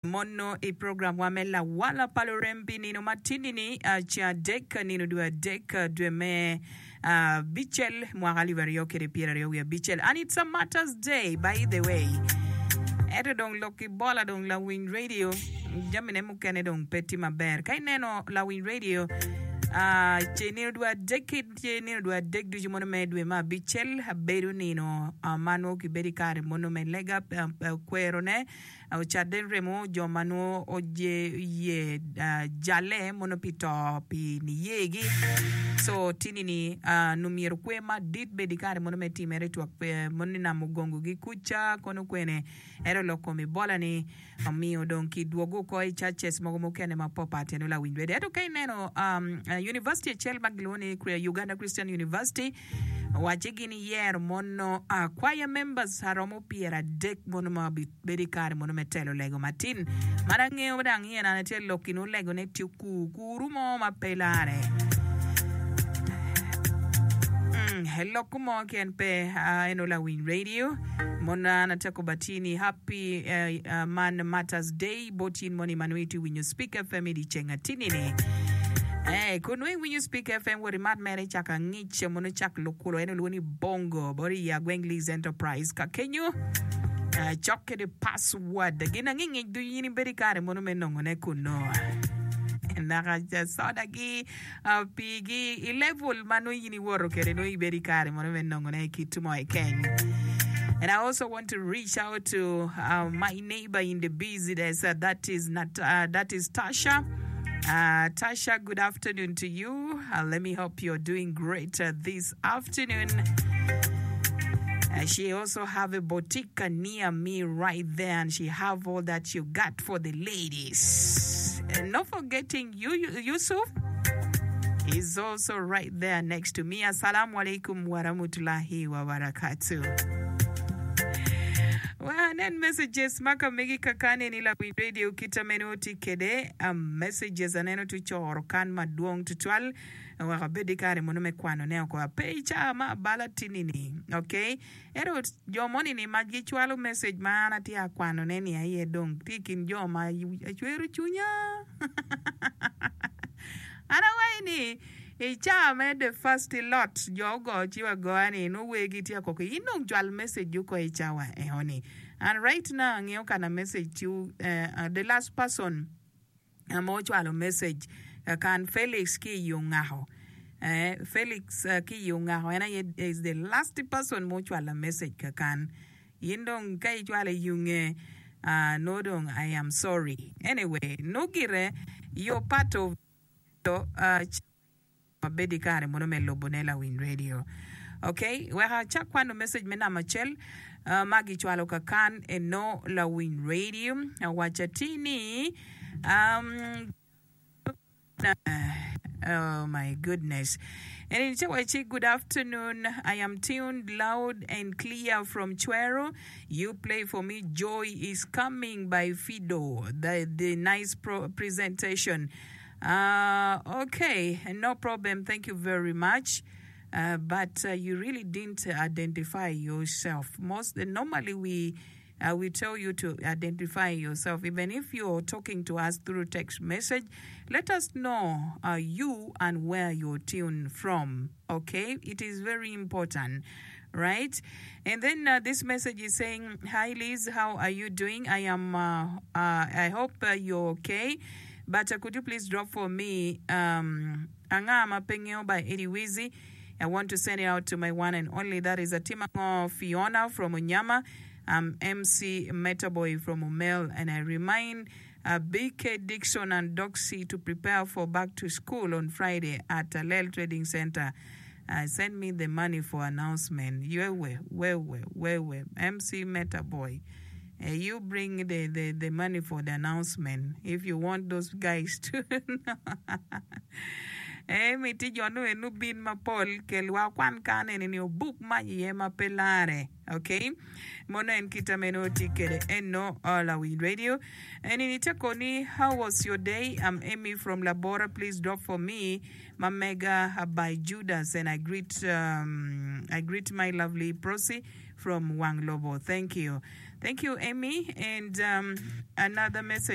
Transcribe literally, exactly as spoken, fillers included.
Mono i programwa me Lawala pa Lurem pi nino matindi-ni, ceng adek, nino dwe adek, dwe me abicel, mwaka alip aryo kede pyeraryo wiye abicel. And it's a Martyrs Day, by the way. Ento dong lok ki bola dong lawiny radio, jamine mukene dong pe tye maber. Ka ineno lawiny radio, ce nino dwe adek ki ce nino dwe adek ducu mono me dwe me abicel bedo nino ma nongo kibedo i kare mono me lega kwerone Ocadde remo jo ma nongo oye jalle mono pi to pi niyegi. So tini ni nongo myero kwer madit bed i kare mono me timere twak mono ni nam ogongogi kuca kono kwene ento lok kom Ebola ni omiyo dong ki dwogo oko i churches mogo mukene ma papat eno lawiny radio. Ento ka ineno university acel ma gilwongo ni Uganda Christian University Owacce gin iyero mono choir members aromo pyeradek mono ma obibedo i kare mono me telo lego matin. Man angeyo dang iye nane tye lok inu lego ne tye kur kuru mo ma pe lare. Mm, lok mo ken pe eno lawiny radio mono an ateko batini happy uh, uh, man matters day bot in moni ma nongo itye winyo Speak F M i dyeceng atini ni. Eh, kun nongo iwinyo Speak F M wot imat mere cak angic. Ce mono cak lukulo en olwongo ni Bongo bot i Agweng Lease Enterprise ka kenyo cok kede password gin angingic ducu in ibedo i kare mono me nongo ne kuno naka soda gi pii gi i level ma nongo in iwoto kede nongo ibedo i kare mono me nongo ne kit mo keken. And I also want to reach out to uh, my neighbor in the business uh, that is not, uh, that is Tasha. Uh, Tasha, good afternoon to you. Uh, let me hope you're doing great uh, this afternoon. Uh, she also have a boutique near me right there, and she have all that you got for the ladies. And not forgetting you, Yusuf is also right there next to me. Assalamu alaikum wa rahmatullahi wa barakatuh. Wa anen messages ma ka megi kakane ni lawiny radio kita meno tye kede messages aneno tye coro kan madwong tutwal wek abed ki kare mono me kwano ne oko ape i caa ma abala tini ni ok ento jo moni ni ma gicwalo message ma an atye akwano ne ni aye dong tye i kin jo ma cwero cwinya an awaci ni i caa me the first lot jo ogo ci wagoya ni nongo wergi tye akoko in dong cwal message oko i cawa eno ni and right now angeyo kana message ci the last person ma ocwalo message kan Felix ki i ongako Felix ki i ongako en aye is the last person ma ocwalo message kakan in dong ka icwalo i yunge nongo dong I am sorry anyway nongo gire you're part of Wabed i kare mono me lubone lawiny radio. Ok, wek acak kwano message me namba acel ma gicwalo kakan eno lawiny radio. Awaco atir ni um, oh my goodness. Eni ce wacci good afternoon. I am tuned loud and clear from Chwero. You play for me Joy is coming by Fido. The, the nice pro presentation. Uh, ok, no problem, thank you very much. Uh, but uh, you really didn't identify yourself. Most normally we uh, we tell you to identify yourself, even if you're talking to us through text message. Let us know uh, you and where you're tuned from. Okay, it is very important, right? And then uh, this message is saying, "Hi Liz, how are you doing? I am. Uh, uh, I hope uh, you're okay. But uh, could you please drop for me um, Anga ma pe ngeyo by Eddie Wizzy? I want to send it out to my one and only that is Atimango Fiona from Onyama. I'm M C Metaboy from Omel and I remind uh, B K Dixon and Doxy to prepare for back to school on Friday at Alel Trading Center. Uh, send me the money for announcement." Wewe, wewe, wewe. M C Metaboy. Uh, you bring the, the, the money for the announcement if you want those guys to know. Eh, miti jo nu enu bin mapol kel wa kwan kan eni ni obuk mac iye ma pe lare. Okay? Mono en kita meno tye kede eno lawiny radio. Eni ni te koni, "How was your day? I'm Amy from Labora. Please drop for me Mamega by Judas and I greet um, I greet my lovely Prossy from Wang Lobo. Thank you." Thank you, Amy. And um, another message.